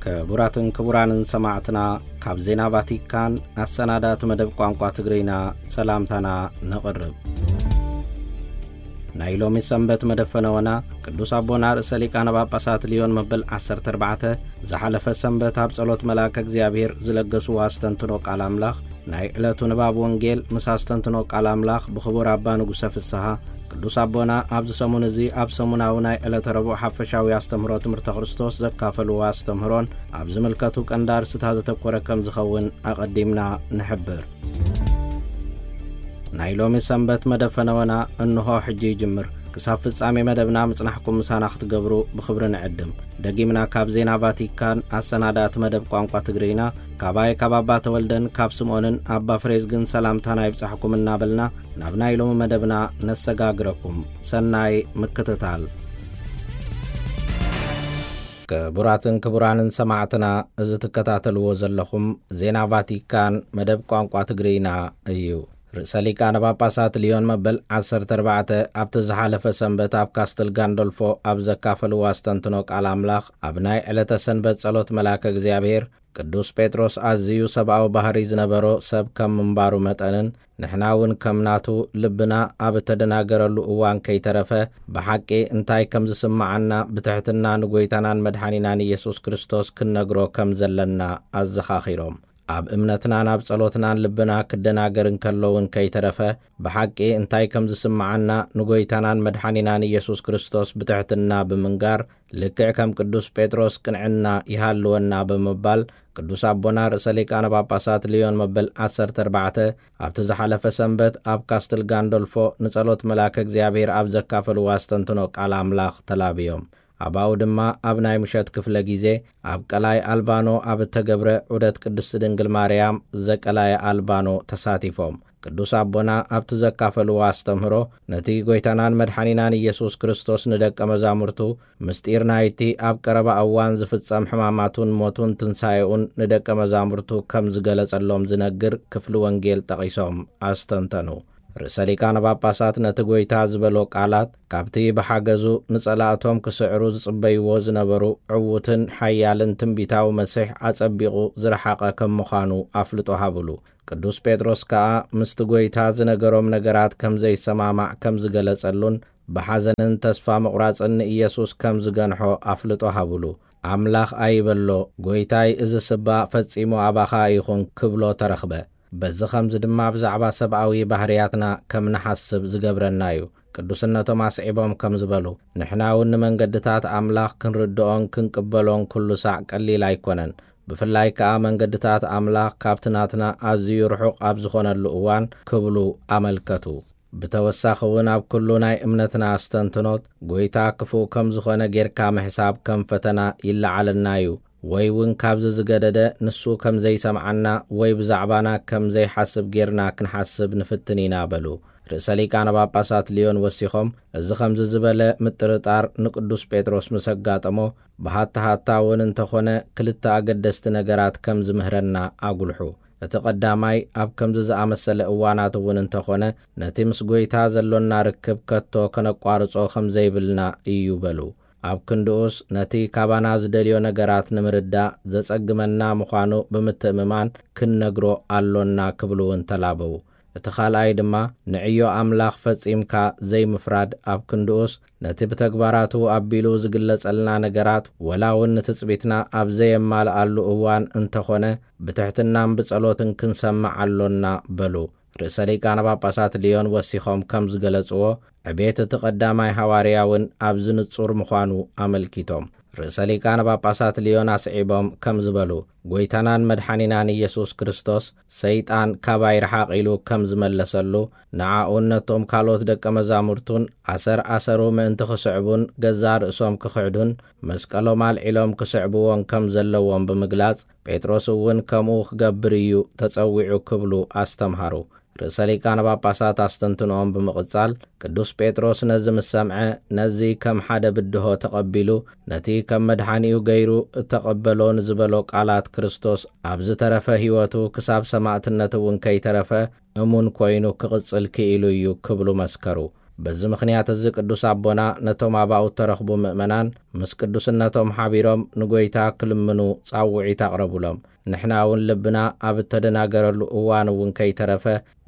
ክቡራትን ክቡራንን ሰማዕትና፣ ካብ ዜና ቫቲካን ኣሰናዳእቲ መደብ ቋንቋ ትግርኛ ሰላምታና ነቕርብ። ናይ ሎሚ ሰንበት መደብ ፈነወና ቅዱስ ኣቦና ርእሰ ሊቃነ ጳጳሳት ሊዮን መበል ዓሰርተ ኣርባዕተ ዝሓለፈ ሰንበት ኣብ ጸሎት መልኣከ እግዚኣብሔር ዝለገስዎ ኣስተንትኖ ቃል ኣምላኽ፣ ናይ ዕለቱ ንባብ ወንጌል ምስ ኣስተንትኖ ቃል ኣምላኽ ብኽቡር ኣባ ንጉሰ ፍስሃ፣ ቅዱስ ኣቦና ኣብዚ ሰሙን እዚ ኣብ ሰሙናዊ ናይ ዕለተ ረቡዕ ሓፈሻዊ ኣስተምህሮ ትምህርተ ክርስቶስ ዘካፈልዎ ኣስተምህሮን ኣብ ዝምልከቱ ቀንዲ ኣርእስታት ዘተኮረ ከም ዝኸውን ኣቐዲምና ንሕብር። ናይ ሎሚ ሰንበት መደብ ፈነወና እንሆ ሕጂ ይጅምር። ክሳብ ፍጻሜ መደብና ምጽናሕኩም ምሳና ክትገብሩ ብኽብሪ ንዕድም። ደጊምና ካብ ዜና ቫቲካን ኣሰናዳእቲ መደብ ቋንቋ ትግርኛ፣ ካባይ ካብ ኣባ ተወልደን ካብ ስምኦንን ኣባ ፍሬዝግን ሰላምታና ይብጻሕኩም እናበልና ናብ ናይ ሎሚ መደብና ነሰጋግረኩም። ሰናይ ምክትታል። ክቡራትን ክቡራንን ሰማዕትና፣ እዚ ትከታተልዎ ዘለኹም ዜና ቫቲካን መደብ ቋንቋ ትግርኛ እዩ። ርእሰ ሊቃነ ጳጳሳት ሊዮን መበል ዓሰርተ ኣርባዕተ ኣብቲ ዝሓለፈ ሰንበት ኣብ ካስትል ጋንዶልፎ ኣብ ዘካፈልዎ ኣስተንትኖ ቃል ኣምላኽ፣ ኣብ ናይ ዕለተ ሰንበት ጸሎት መልኣከ እግዚኣብሔር፣ ቅዱስ ጴጥሮስ ኣዝዩ ሰብኣዊ ባህሪ ዝነበሮ ሰብ ከም ምንባሩ መጠንን፣ ንሕና እውን ከም ናቱ ልብና ኣብ እተደናገረሉ እዋን ከይተረፈ፣ ብሓቂ እንታይ ከም ዝስምዓና ብትሕትና ንጐይታናን መድሓኒናን ኢየሱስ ክርስቶስ ክንነግሮ ከም ዘለና ኣዘኻኺሮም። ኣብ እምነትናን ኣብ ጸሎትናን ልብና ክደናገር እንከሎ እውን ከይተረፈ፣ ብሓቂ እንታይ ከም ዝስምዓና ንጐይታናን መድሓኒናን ኢየሱስ ክርስቶስ ብትሕትና ብምንጋር፣ ልክዕ ከም ቅዱስ ጴጥሮስ ቅንዕና ይሃልወና ብምባል፣ ቅዱስ ኣቦና ርእሰ ሊቃነ ጳጳሳት ሊዮን መበል ዓሰርተ ኣርባዕተ ኣብቲ ዝሓለፈ ሰንበት ኣብ ካስትል ጋንዶልፎ ንጸሎት መልኣከ እግዚኣብሔር ኣብ ዘካፈልዎ ኣስተንትኖ ቃል ኣምላኽ ተላብዮም። ኣባኡ ድማ ኣብ ናይ ምሸት ክፍለ ግዜ ኣብ ቀላይ ኣልባኖ ኣብ እተገብረ ዑደት ቅድስቲ ድንግል ማርያም ዘቀላየ ኣልባኖ ተሳቲፎም። ቅዱስ ኣቦና ኣብቲ ዘካፈልዎ ኣስተምህሮ፣ ነቲ ጐይታናን መድሓኒናን ኢየሱስ ክርስቶስ ንደቀ መዛሙርቱ፣ ምስጢር ናይቲ ኣብ ቀረባ እዋን ዝፍጸም ሕማማቱን ሞቱን ትንሳኤኡን ንደቀ መዛሙርቱ ከም ዝገለጸሎም ዝነግር ክፍሊ ወንጌል ጠቒሶም ኣስተንተኑ። ርእሰ ሊቃነ ጳጳሳት ነቲ ጐይታ ዝበሎ ቃላት፣ ካብቲ ብሓገዙ ንጸላእቶም ክስዕሩ ዝጽበይዎ ዝነበሩ ዕዉትን ሓያልን ትንቢታዊ መሲሕ ኣጸቢቑ ዝረሓቐ ከም ምዃኑ ኣፍልጦ ሃብሉ። ቅዱስ ጴጥሮስ ከኣ ምስቲ ጐይታ ዝነገሮም ነገራት ከም ዘይሰማማዕ ከም ዝገለጸሉን፣ ብሓዘንን ተስፋ ምቑራጽን ንኢየሱስ ከም ዝገንሖ ኣፍልጦ ሃብሉ። ኣምላኽ ኣይበሎ፣ ጐይታይ፣ እዚ ስባ ፈጺሙ ኣባኻ ኣይኹን ክብሎ ተረኽበ። በዚ ኸምዚ ድማ ብዛዕባ ሰብኣዊ ባህርያትና ከም ንሓስብ ዝገብረና እዩ። ቅዱስነቶም ኣስዒቦም ከም ዝበሉ፣ ንሕና እውን ንመንገድታት ኣምላኽ ክንርድኦን ክንቅበሎን ኩሉ ሳዕ ቀሊል ኣይኮነን። ብፍላይ ከኣ መንገድታት ኣምላኽ ካብቲ ናትና ኣዝዩ ርሑቕ ኣብ ዝኾነሉ እዋን ክብሉ ኣመልከቱ። ብተወሳኺ እውን ኣብ ኩሉ ናይ እምነትና ኣስተንትኖት ጐይታ ክፉእ ከም ዝኾነ ጌርካ ምሕሳብ ከም ፈተና ይለዓለና እዩ። ወይ እውን ካብዚ ዝገደደ ንሱ ከም ዘይሰምዓና ወይ ብዛዕባና ከም ዘይሓስብ ጌርና ክንሓስብ ንፍትን ኢና በሉ። ርእሰ ሊቃነ ጳጳሳት ሊዮን ወሲኾም፣ እዚ ከምዚ ዝበለ ምጥርጣር ንቅዱስ ጴጥሮስ ምስ ኣጋጠሞ፣ ብሃታ ሃታ እውን እንተኾነ ክልተ ኣገደስቲ ነገራት ከም ዝምህረና ኣጉልሑ። እቲ ቀዳማይ፣ ኣብ ከምዚ ዝኣመሰለ እዋናት እውን እንተኾነ፣ ነቲ ምስ ጐይታ ዘሎና ርክብ ከቶ ከነቋርጾ ከም ዘይብልና እዩ በሉ። ኣብ ክንድኡስ፣ ነቲ ካባና ዝደልዮ ነገራት ንምርዳእ ዘጸግመና ምዃኑ ብምትእምማን ክንነግሮ ኣሎና ክብሉ እውን ተላበዉ። እቲ ካልኣይ ድማ፣ ንዕዮ ኣምላኽ ፈጺምካ ዘይምፍራድ፣ ኣብ ክንድኡስ፣ ነቲ ብተግባራቱ ኣቢሉ ዝግለጸልና ነገራት፣ ወላ እውን ንትጽቢትና ኣብ ዘየማልኣሉ እዋን እንተኾነ፣ ብትሕትናን ብጸሎትን ክንሰምዕ ኣሎና በሉ። ርእሰ ሊቃነ ጳጳሳት ሊዮን ወሲኾም ከም ዝገለጽዎ፣ ዕቤት እቲ ቀዳማይ ሃዋርያ እውን ኣብዚ ንጹር ምዃኑ ኣመልኪቶም። ርእሰ ሊቃነ ጳጳሳት ሊዮን ኣስዒቦም ከም ዝበሉ፣ ጐይታናን መድሓኒናን ኢየሱስ ክርስቶስ፣ "ሰይጣን ካባይ ርሓቕ" ኢሉ ከም ዝመለሰሉ፣ ንዓኡን ነቶም ካልኦት ደቀ መዛሙርቱን ኣሰር ኣሰሩ ምእንቲ ክስዕቡን ገዛእ ርእሶም ክኽሕዱን መስቀሎም ኣልዒሎም ክስዕብዎን ከም ዘለዎም ብምግላጽ፣ ጴጥሮስ እውን ከምኡ ክገብር እዩ ተጸዊዑ ክብሉ ኣስተምሃሩ። ርእሰ ሊቃነ ጳጳሳት ኣስተንትኖኦም ብምቕጻል፣ ቅዱስ ጴጥሮስ ነዚ ምስ ሰምዐ፣ ነዚ ከም ሓደ ብድሆ ተቐቢሉ፣ ነቲ ከም መድሓኒኡ ገይሩ እተቐበሎ ንዝበሎ ቃላት ክርስቶስ ኣብ ዝተረፈ ህይወቱ ክሳብ ሰማእትነት እውን ከይተረፈ እሙን ኮይኑ ክቕጽል ክኢሉ እዩ ክብሉ መስከሩ። በዚ ምኽንያት እዚ ቅዱስ ኣቦና ነቶም ኣባኡ እተረኽቡ ምእመናን ምስ ቅዱስነቶም ሓቢሮም ንጎይታ ክልምኑ ጻውዒት ኣቕረቡሎም። ንሕና እውን ልብና ኣብ እተደናገረሉ እዋን እውን ከይተረፈ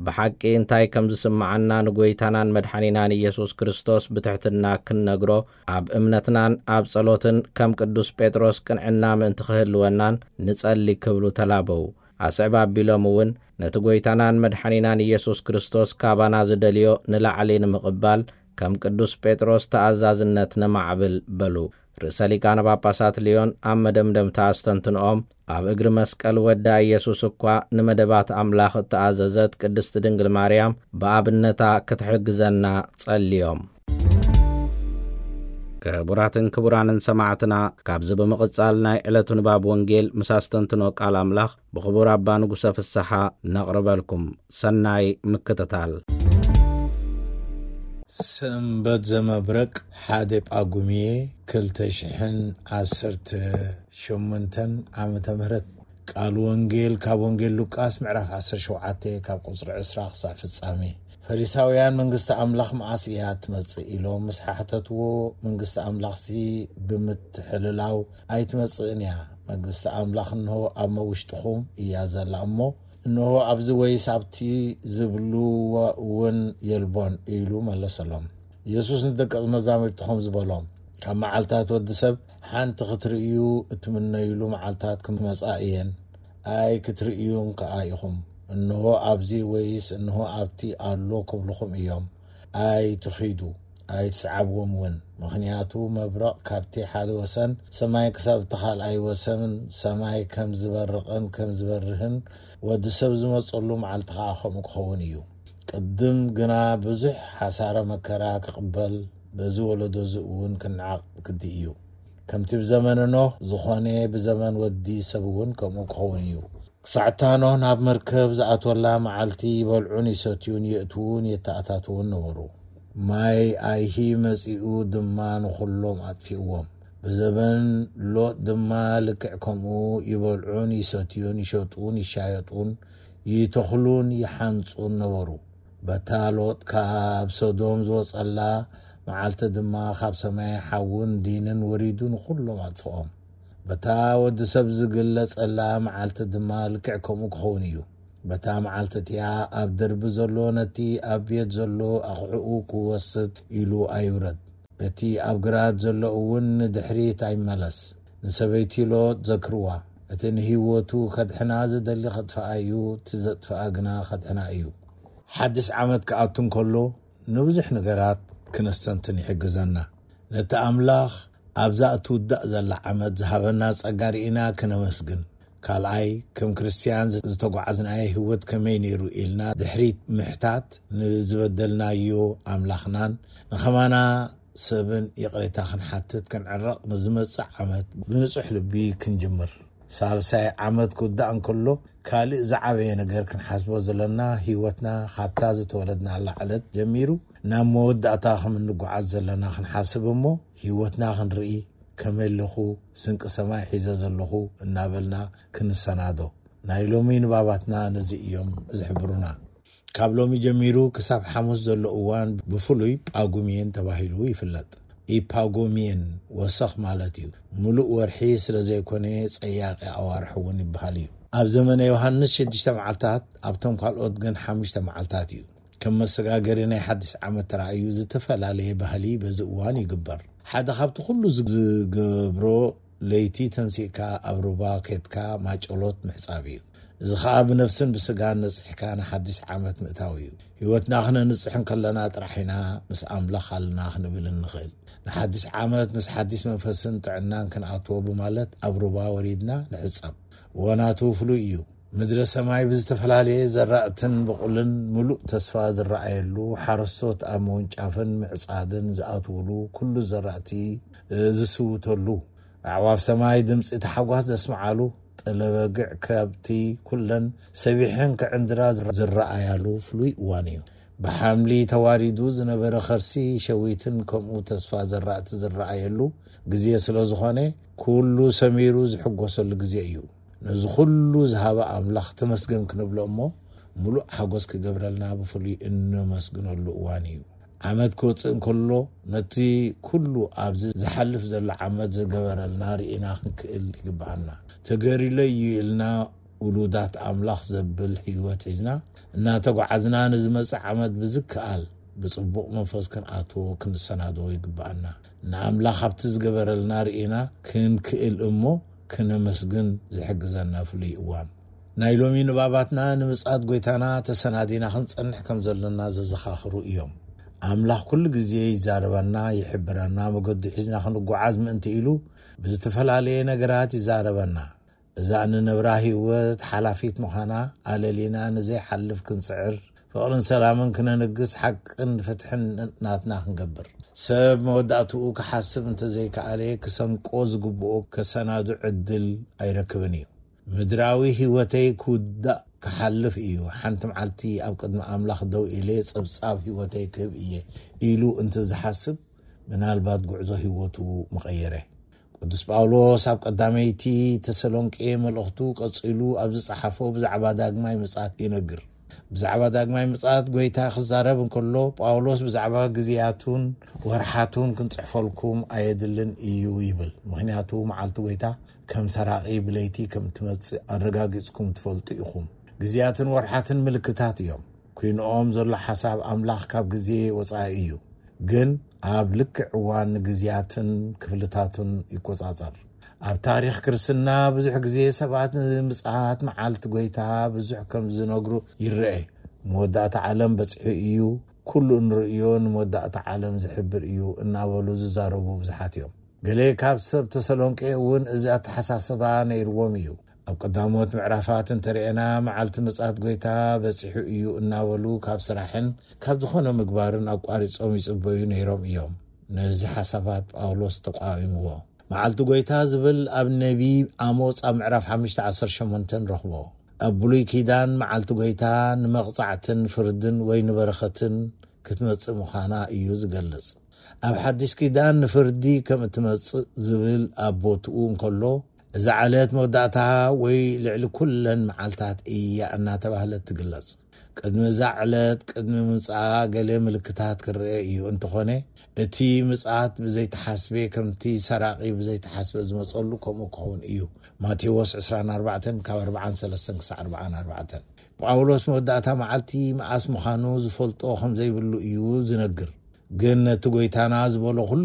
ብሓቂ እንታይ ከም ዝስምዓና ንጎይታናን መድሓኒናን ኢየሱስ ክርስቶስ ብትሕትና ክንነግሮ ኣብ እምነትናን ኣብ ጸሎትን ከም ቅዱስ ጴጥሮስ ቅንዕና ምእንቲ ክህልወናን ንጸሊ ክብሉ ተላበዉ። ኣስዕብ ኣቢሎም እውን ነቲ ጎይታናን መድሓኒናን ኢየሱስ ክርስቶስ ካባና ዝደልዮ ንላዕሊ ንምቕባል ከም ቅዱስ ጴጥሮስ ተኣዛዝነት ነማዕብል በሉ። ርእሰ ሊቃነ ጳጳሳት ልዮን ኣብ መደምደምታ ኣስተንትንኦም ኣብ እግሪ መስቀል ወዳ ኢየሱስ እኳ ንመደባት ኣምላኽ እተኣዘዘት ቅድስቲ ድንግል ማርያም ብኣብነታ ክትሕግዘና ጸልዮም። ክቡራትን ክቡራንን ሰማዕትና፣ ካብዚ ብምቕጻል ናይ ዕለቱ ንባብ ወንጌል ምስ ኣስተንትኖ ቃል ኣምላኽ ብኽቡር ኣባ ንጉሰ ፍስሓ ነቕርበልኩም። ሰናይ ምክትታል። ሰንበት ዘመብረቅ ሓደ ጳጉሜ ክልተ ሽሕን ዓሰርተ ሸሞንተን ዓመተ ምህረት። ቃል ወንጌል ካብ ወንጌል ሉቃስ ምዕራፍ ዓሰርተ ሸውዓተ ካብ ቁጽሪ ዕስራ ክሳዕ ፍጻሜ። ፈሪሳውያን መንግስቲ ኣምላኽ መዓስ እያ ትመጽእ ኢሎም ምስ ሓሕተትዎ፣ መንግስቲ ኣምላኽሲ ብምትሕልላው ኣይትመጽእን እያ። መንግስቲ ኣምላኽ እንሆ ኣብ መውሽጥኹም እያ ዘላ እሞ፣ እንሆ ኣብዚ ወይስ ኣብቲ ዝብልዎ እውን የልቦን ኢሉ መለሰሎም። የሱስ ንደቀ መዛሙርቱ ከም ዝበሎም፣ ካብ መዓልታት ወዲ ሰብ ሓንቲ ክትርእዩ እትምነዩሉ መዓልታት ክመጻ እየን፣ ኣይ ክትርእዩን ከኣ ኢኹም። እንሆ ኣብዚ ወይስ እንሆ ኣብቲ ኣሎ ክብልኹም እዮም። ኣይትኺዱ፣ ኣይትስዓብዎም እውን። ምኽንያቱ መብረቕ ካብቲ ሓደ ወሰን ሰማይ ክሳብ እቲ ካልኣይ ወሰን ሰማይ ከም ዝበርቕን ከም ዝበርህን፣ ወዲ ሰብ ዝመጸሉ መዓልቲ ኸኣ ከምኡ ክኸውን እዩ። ቅድም ግና ብዙሕ ሓሳረ መከራ ክቕበል፣ በዚ ወለዶ እዚ እውን ክንዓቕ ግዲ እዩ። ከምቲ ብዘመነ ኖህ ዝኾነ ብዘመን ወዲ ሰብ እውን ከምኡ ክኸውን እዩ። ክሳዕታ ኖህ ናብ መርከብ ዝኣትወላ መዓልቲ ይበልዑን ይሰትዩን የእትዉን የተኣታትዉን ነበሩ። ማይ ኣይሂ መጺኡ ድማ ንኹሎም ኣጥፊእዎም። ብዘበን ሎጥ ድማ ልክዕ ከምኡ ይበልዑን ይሰትዩን ይሸጡን ይሻየጡን ይተኽሉን ይሓንጹን ነበሩ። በታ ሎጥ ካብ ሶዶም ዝወጸላ መዓልቲ ድማ ካብ ሰማይ ሓውን ዲንን ወሪዱ ንኹሎም ኣጥፍኦም። በታ ወዲ ሰብ ዝግለጸላ መዓልቲ ድማ ልክዕ ከምኡ ክኸውን እዩ። በታ መዓልቲ እቲኣ ኣብ ደርቢ ዘሎ ነቲ ኣብ ቤት ዘሎ ኣቕሕኡ ክወስድ ኢሉ ኣይውረድ። እቲ ኣብ ግራት ዘሎ እውን ንድሕሪት ኣይመለስ። ንሰበይቲ ሎጥ ዘክርዋ። እቲ ንህይወቱ ከድሕና ዝደሊ ከጥፍኣ እዩ፣ እቲ ዘጥፍኣ ግና ከድሕና እዩ። ሓድሽ ዓመት ክኣቱ እንከሎ ንብዙሕ ነገራት ክነስተንትን ይሕግዘና። ነቲ ኣምላኽ ኣብዛ እትውዳእ ዘላ ዓመት ዝሃበና ጸጋ ርኢና ክነመስግን። ካልኣይ፣ ከም ክርስትያን ዝተጓዓዝናዮ ህይወት ከመይ ነይሩ ኢልና ድሕሪት ምሕታት፣ ንዝበደልናዮ ኣምላኽናን ንኸማና ሰብን ይቕሬታ ክንሓትት ክንዕረቕ፣ ንዝመጽእ ዓመት ብንጹሕ ልቢ ክንጅምር። ሳልሳይ ዓመት ክውዳእ እንከሎ፣ ካልእ ዝዓበየ ነገር ክንሓስቦ ዘለና፣ ህይወትና ካብታ ዝተወለድናላ ዕለት ጀሚሩ ናብ መወዳእታ ከም እንጓዓዝ ዘለና ክንሓስብ እሞ፣ ህይወትና ክንርኢ፣ ከመይ ኣለኹ፣ ስንቂ ሰማይ ሒዘ ዘለኹ እናበልና ክንሰናዶ። ናይ ሎሚ ንባባትና ነዚ እዮም ዝሕብሩና። ካብ ሎሚ ጀሚሩ ክሳብ ሓሙስ ዘሎ እዋን ብፍሉይ ጳጉሜን ተባሂሉ ይፍለጥ። ኢፓጎሜን ወሰኽ ማለት እዩ። ምሉእ ወርሒ ስለ ዘይኮነ ጸያቒ ኣዋርሕ እውን ይበሃል እዩ። ኣብ ዘመነ ዮሃንስ ሽዱሽተ መዓልታት፣ ኣብቶም ካልኦት ግን ሓሙሽተ መዓልታት እዩ። ከም መሰጋገሪ ናይ ሓድሽ ዓመት ተራእዩ ዝተፈላለየ ባህሊ በዚ እዋን ይግበር። ሓደ ካብቲ ኩሉ ዝገብሮ ለይቲ ተንሲእካ ኣብ ሩባ ኬድካ ማጨሎት ምሕጻብ እዩ። እዚ ኸኣ ብነፍስን ብስጋን ነጽሕካ ንሓድሽ ዓመት ምእታው እዩ። ህይወትና ክነንጽሕ እንከለና ጥራሕ ኢና ምስ ኣምላኽ ኣለና ክንብል እንኽእል። ንሓድሽ ዓመት ምስ ሓድሽ መንፈስን ጥዕናን ክንኣትዎ ብማለት ኣብ ሩባ ወሪድና ንሕጸብ። እዋናቱ ፍሉይ እዩ። ምድረ ሰማይ ብዝተፈላለየ ዘራእትን ብቑልን ምሉእ ተስፋ ዝረኣየሉ፣ ሓረስቶት ኣብ ምውንጫፍን ምዕጻድን ዝኣትውሉ፣ ኩሉ ዘራእቲ ዝስውተሉ፣ ኣዕዋፍ ሰማይ ድምጺ ታሕጓስ ዘስምዓሉ፣ ጠለበግዕ ከብቲ ኩለን ሰቢሐን ክዕንድራ ዝረኣያሉ ፍሉይ እዋን እዩ። ብሓምሊ ተዋሪዱ ዝነበረ ከርሲ ሸዊትን ከምኡ ተስፋ ዘራእቲ ዝረኣየሉ ግዜ ስለ ዝኾነ፣ ኩሉ ሰሚሩ ዝሕጎሰሉ ግዜ እዩ። ነዚ ኩሉ ዝሃበ ኣምላኽ ተመስገን ክንብሎ እሞ፣ ምሉእ ሓጎስ ክገብረልና ብፍሉይ እነመስግነሉ እዋን እዩ። ዓመት ክወጽእ እንከሎ፣ ነቲ ኩሉ ኣብዚ ዝሓልፍ ዘሎ ዓመት ዝገበረልና ርኢና ክንክእል ይግብኣና። ተገሪለይ እዩ ኢልና ውሉዳት ኣምላኽ ዘብል ህይወት ሒዝና እናተጓዓዝና፣ ንዝመጽእ ዓመት ብዝከኣል ብጽቡቕ መንፈስ ክንኣትዎ ክንሰናድዎ ይግብኣና። ንኣምላኽ ኣብቲ ዝገበረልና ርኢና ክንክእል እሞ ክነመስግን ዝሕግዘና ፍሉይ እዋን። ናይ ሎሚ ንባባትና ንምጽኣት ጐይታና ተሰናዲና ክንጸንሕ ከም ዘሎና ዘዘኻኽሩ እዮም። ኣምላኽ ኩሉ ግዜ ይዛረበና፣ ይሕብረና፣ መገዱ ሒዝና ክንጓዓዝ ምእንቲ ኢሉ ብዝተፈላለየ ነገራት ይዛረበና። እዛ እንነብራ ህይወት ሓላፊት ምዃና ኣለሊና ንዘይሓልፍ ክንጽዕር፣ ፍቕርን ሰላምን ክነንግስ፣ ሓቅን ፍትሕን ናትና ክንገብር። ሰብ መወዳእትኡ ክሓስብ እንተዘይከኣለ፣ ክሰንቆ ዝግብኦ ከሰናዱ ዕድል ኣይረክብን እዩ። ምድራዊ ህይወተይ ክውዳእ ክሓልፍ እዩ። ሓንቲ መዓልቲ ኣብ ቅድሚ ኣምላኽ ደው ኢለ ጸብጻብ ህይወተይ ክህብ እየ ኢሉ እንተ ዝሓስብ፣ ምናልባት ጉዕዞ ህይወቱ ምቐየረ። ቅዱስ ጳውሎስ ኣብ ቀዳመይቲ ተሰሎንቄ መልእኽቱ ቀጺሉ ኣብ ዝጸሓፎ ብዛዕባ ዳግማይ ምጽኣት ይነግር። ብዛዕባ ዳግማይ ምጽኣት ጐይታ ክዛረብ እንከሎ፣ ጳውሎስ ብዛዕባ ግዜያቱን ወርሓቱን ክንጽሕፈልኩም ኣየድልን እዩ ይብል። ምኽንያቱ መዓልቲ ጐይታ ከም ሰራቒ ብለይቲ ከም እትመጽእ ኣረጋጊጽኩም ትፈልጡ ኢኹም። ግዜያትን ወርሓትን ምልክታት እዮም። ኲንኦም ዘሎ ሓሳብ ኣምላኽ ካብ ግዜ ወጻኢ እዩ፣ ግን ኣብ ልክዕ እዋን ንግዜያትን ክፍልታቱን ይቆጻጸር። ኣብ ታሪኽ ክርስትና ብዙሕ ግዜ ሰባት ንምጽኣት መዓልቲ ጐይታ ብዙሕ ከም ዝነግሩ ይረአ። መወዳእታ ዓለም በጺሑ እዩ፣ ኩሉ እንርእዮ ንመወዳእታ ዓለም ዝሕብር እዩ እናበሉ ዝዛረቡ ብዙሓት እዮም። ገለ ካብ ሰብ ተሰሎንቄ እውን እዚ ኣተሓሳስባ ነይርዎም እዩ። ኣብ ቀዳሞት ምዕራፋት እንተርኤና፣ መዓልቲ ምጽኣት ጐይታ በጺሑ እዩ እናበሉ ካብ ስራሕን ካብ ዝኾነ ምግባርን ኣቋሪጾም ይጽበዩ ነይሮም እዮም። ነዚ ሓሳባት ጳውሎስ ተቃዊምዎ። መዓልቲ ጐይታ ዝብል ኣብ ነቢ ኣሞጽ ኣብ ምዕራፍ ሓሙሽተ ዓሰርተ ሸሞንተ ንረኽቦ። ኣብ ብሉይ ኪዳን መዓልቲ ጐይታ ንመቕጻዕትን ፍርድን ወይ ንበረኸትን ክትመጽእ ምዃና እዩ ዝገልጽ። ኣብ ሓድሽ ኪዳን ንፍርዲ ከም እትመጽእ ዝብል ኣብ ቦትኡ እንከሎ፣ እዛ ዕለት መወዳእታ ወይ ልዕሊ ኩለን መዓልታት እያ እናተባህለት ትግለጽ። ቅድሚ እዛ ዕለት፣ ቅድሚ ምምጽኣ ገለ ምልክታት ክረአ እዩ። እንተኾነ፣ እቲ ምጽኣት ብዘይተሓስበ፣ ከምቲ ሰራቒ ብዘይተሓስበ ዝመጸሉ ከምኡ ክኸውን እዩ። ማቴዎስ ዕስራን ኣርባዕተን ካብ ኣርባዓን ሰለስተን ክሳዕ ኣርባዓን ኣርባዕተን። ጳውሎስ መወዳእታ መዓልቲ መዓስ ምዃኑ ዝፈልጦ ከም ዘይብሉ እዩ ዝነግር። ግን ነቲ ጐይታና ዝበሎ ኩሉ